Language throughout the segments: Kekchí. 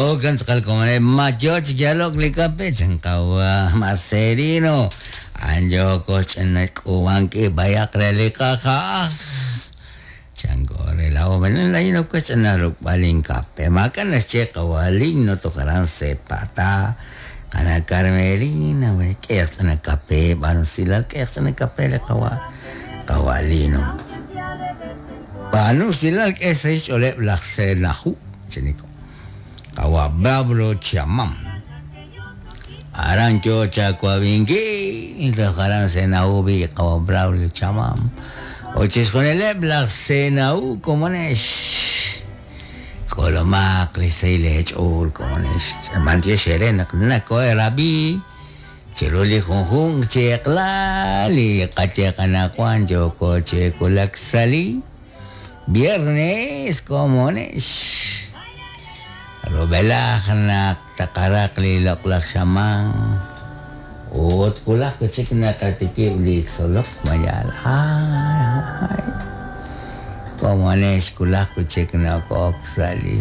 Jo'kan tz'aqal komoneb' ma yo chi yalok li kape chan qawa' Marcelino a'an yooko xch'ina xk'uub'ankil b'ayaq re li qaja'aj chanko re laa'o laa'in ok we ch'ina ruk'b'al inkape maak'a' naxye qawa' Lino toj aran Sepatá qana' Carmelina k'ehaq ch'ina kape b'aanu usilal k'ehaq ch'ina kape li qawa' qawa' Lino b'aanu usilal k'e xsahil xch'ooleb' laj Senaju chiniko qawa' Braulio Chamam aran yo chawab'inkil toj aran Senaju b'i' qawa' Braulio Chamam ut chixjunileb' laj Senaju komonex k'ulumaq li xsahil eech'ool komonex b'antiox eere naq nakohe'rab'i chiru li junjunq chi eq'la li qaye qanaqwan yooko chi wulak sa' li viernes komonex rub'elaj naq taqaraq li loq'laj xamaan ut wulaj wi' chik naqatikib' li tzolok mayal ay komonex wulaj wi' chik noko'ok sa' li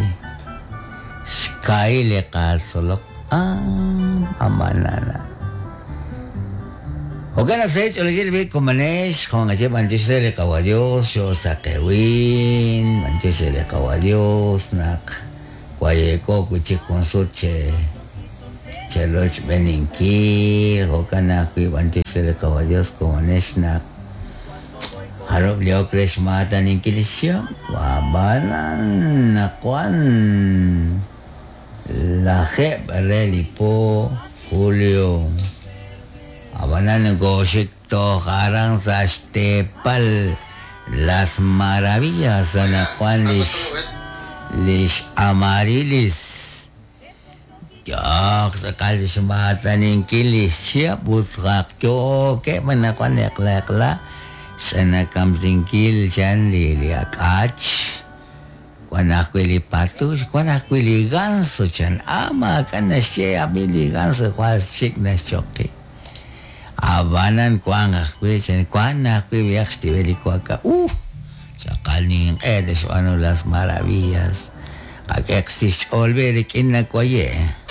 xkahil li qatzolok amanana Jo'kan naq sa' xch'oolejil b'i' komonex jo' naqaye b'antiox re li qawa' Dios xoosaqewin b'antiox re li qawa' Dios naq waye'ko wi' chik jun sut che cherochb'eeninkil jo'kan ajwi' b'antiox re li qawa' Dios komonex naq jarub' li ok re xmaataninkil li xchihab' ab'anan naq wan lajeeb' re li po julio ab'anan nokooxik toj aran sa' xteepal Las Maravillas anaqwan lix lix Amarilis yook tz'aqal xmaataninkil li xchihab' ut yookeb' anaqwan eq'la eq'la xch'inakamsinkil chan li li ak'ach wan ajwi' li patux wan ajwi' li ganso chan ah maak'a' naxye ab'i li ganso jwal xik' naxchoqi ab'anan wank ajwi' chan wan ajwi' b'ayaq xtib'el li waka tz'aqal ninq'e te'xb'aanu Las Maravillas qak'ehaq xch'ool b'i' rik'in nawaye'.